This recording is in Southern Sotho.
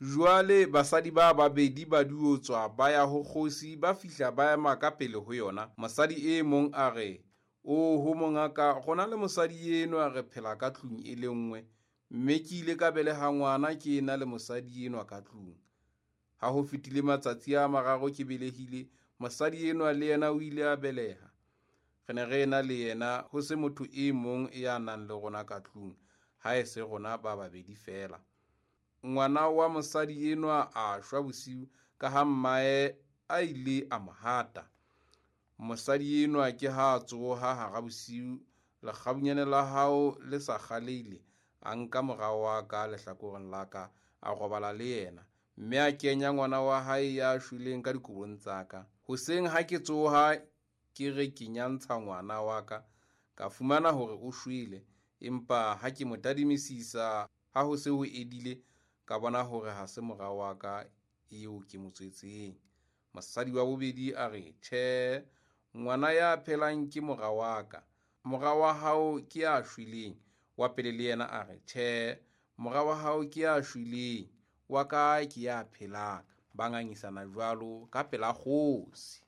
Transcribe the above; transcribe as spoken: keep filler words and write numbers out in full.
Jwale basadi ba babedi ba diotswa ba ya ho kgosi, ba fihla ba ema ka pele ho yona. Mosadi e mong a re, "Oho mongaka, rona le mosadi enwa re phela ka tlung e le nngwe, mme ke ile ka beleha ngwana ke ena le mosadi enwa ka tlung. Ha ho fetile matsatsi a mararo ke belehile, mosadi enwa le yena o ile a beleha. Re ne re ena le yena, ho se motho e mong ya nang le rona ka tlung, ha e se rona ba babedi feela. Ngwana wa mosadi enwa a shwa bosiu ka ha mmae a ile a mo hata. Mosadi enwa ke ha a tsoha hara bosiu, lekgabunyane la hao le sa kgaleile, a nka mora wa ka lehlakoreng la ka, a robala le yena, mme a kenya ngwana wa hae ya shweleng ka dikobong tsa ka. Hoseng ha ke tsoha ke re ke nyantsha ngwana wa ka, ka fumana hore o shwele, empa ha ke mo tadimisisa ha ho se ho edile, ka bona hore ha se mora wa ka eo ke mo tswetseng." Mosadi wa bobedi a re, "Tjhe, ngwana ya phelang ke mora wa ka, mora wa hao ke ya shweleng." Wa pele le yena a re, "Tjhe, mora wa hao ke ya shweleng, wa ka ke ya phelang." Ba ngangisana jwalo ka pela kgosi.